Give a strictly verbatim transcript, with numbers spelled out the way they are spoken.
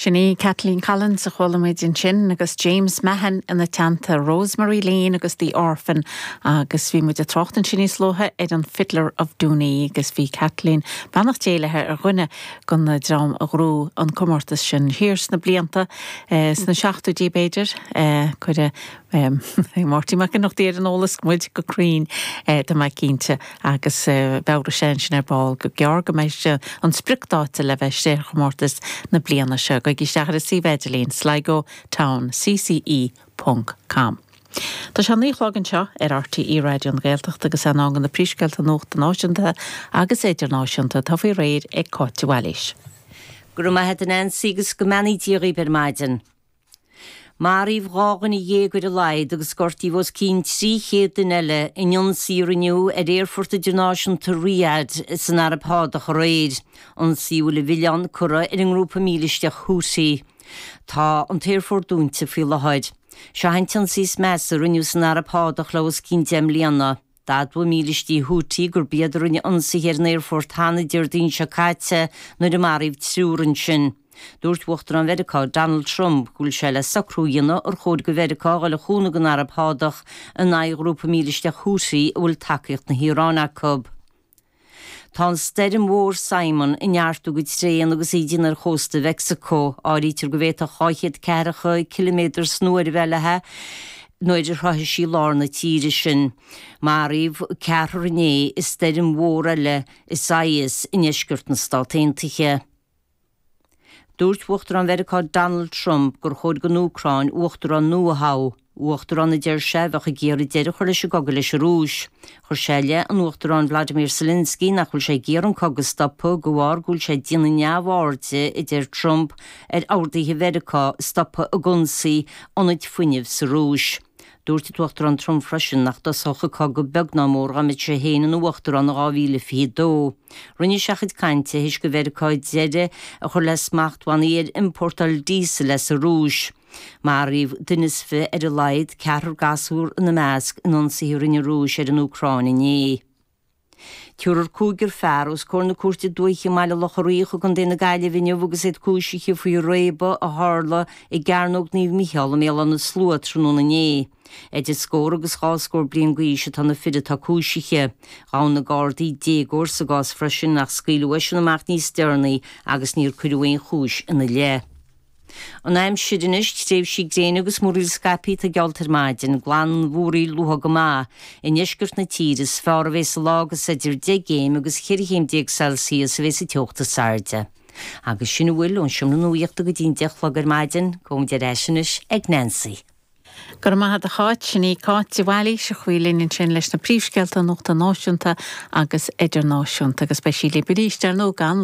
Sin í Kathleen Collins a chuala muid ansin agus James Mahan ina teannta Rosemary Lane agus The Orphan agus bhí muid ag trácht ansin níos luaithe ar an Fiddler of Dooney agus bhí Kathleen beannacht Dé léi ar dhuine den dream a ghnóthaigh an comórtas sin thiar sna blianta eh, sna seachtóidí b'fhéidir eh, cuireadh Máirtín Mac Ionnrachtaigh ar an eolas muid go cruinn eh, tá mé cinnte agus beidh sé sin ar ball go gearr go mbeidh an spriocdháta le bheith sé chomórtas na bliana seo go isteach ar an suíomh idirlín Sligo Town CCE.com. Tá sé naoi a chlog anseo ar RTÉ Raidió na Gaeltachta agus an am do na príomhscéalta nuachta náisiúnta agus idirnáisiúnta tá faoi réir ag Cáit Bhailís. Go raibh maith agat Nancy agus go mbeannaí Dia dhaoibh ar maidin. Maraíodh dhá dhuine dhéag ar a laghad agus gortaíodh os cionn trí chéad duine eile in ionsaí a rinneadh ar aerfort idirnáisiúnta Riyadh san Araib Shádach aréir, ionsaí a bhfuil an milleán curtha ar an ngrúpa mílisteach Houthi. Tá an t-aerfort dúnta faoi láthair. Seo an t-ionsaí is measa a rinneadh san Araib Shádach le os cionn deich mbliana. D'admhaigh mílistí Houthi gurb iad a rinne ionsaithe ar an aerfort cheana Déardaoin seo caite nuair a maraíodh triúr ansin. Dúirt Uachtarán Mheiriceá Donald Trump go bhfuil sé le socrú a dhéanamh ar chóir do Mheiriceá dul a chúnamh don Araib Shádach in aghaidh ghrúpa mílisteach Houthi a bhfuil tacaíocht na hIaráine acu. Tá an stoirm mhór Simon ag neartú go tréan agus í ag déanamh ar chósta Mheicsiceo, áirítear go bhféadfadh dhá chéad ceathracha ciliméadar san uair a bheith léi nuair a shroichfidh sí lár na tíre sin. Maraíodh ceathrar inné i stoirm mhór eile Isaias i ndeisceart na Stát Aontaithe. Dúirt Uachtarán Mheiriceá Donald Trump gur chóir don Úcráin uachtarán nua a thoghadh. Uachtarán a deir sé bheadh ag iarraidh deireadh a chur leis an gcogadh leis an Rúis. Chuir sé i leith an Uachtaráin Vladimir Zelensky nach bhfuil sé ag iarraidh an cogadh a stopadh de bharr go bhfuil sé ag déanamh neamhairde a deir Trump ar orduithe Mheiriceá stopadh ag ionsaí ionaid fuinnimh sa Rúis. Dúirt an tUachtarán Trump freisin nach dtosódh an cogadh beag ná mór dá mbeadh sé féin ina uachtarán in dhá mhíle fiche dó. Rinne sé a chuid cainte théis do Mheiriceá deireadh a chur le smachtbhannaí ar iompórtáil díosail as an Rúis. Maraíodh duine is fiche ar a laghad ceathrar gasúr ina measc in ionsaithe a rinne an Rúis ar an Úcráin inné. Tabharfar cúigear fear os comhair na Cúirte Dúiche i mBaile Locha Riach i gContae na Gaillimhe inniu agus iad cúisithe faoi réabadh a tharla i gCearnóg Naomh Micheál i mBéal Átha na Slua tráthnóna inné. Idir scór agus dhá scór bliain d'aois atá na fir atá cúisithe. Ghabh na Gardaí déagóir sa gcás freisin ach scaoileadh eisean amach níos deireanaí agus níor cuireadh aon chúis ina leith. An aimsir anois, tréimhsí gréine agus múraíl scaipthe atá geallta ar maidin, glanmhúraíl luath go maith. I ndeisceart na tíre is fearr a bheas an lá agus idir deich gcéim agus ceithre chéim déag Celsius a bheas an teocht is airde. Agus sin a bhfuil ón seomra nuachta go dtí an deich a chlog ar maidin, gabhaimid ar ais anois ag Nancy. Go raibh maith agat a Cháit sin í Cáit de Bhailís a chuaigh linn ansin leis na príomhscéalta nuachta náisiúnta agus idirnáisiúnta agus beidh sí libh arís ar nó gan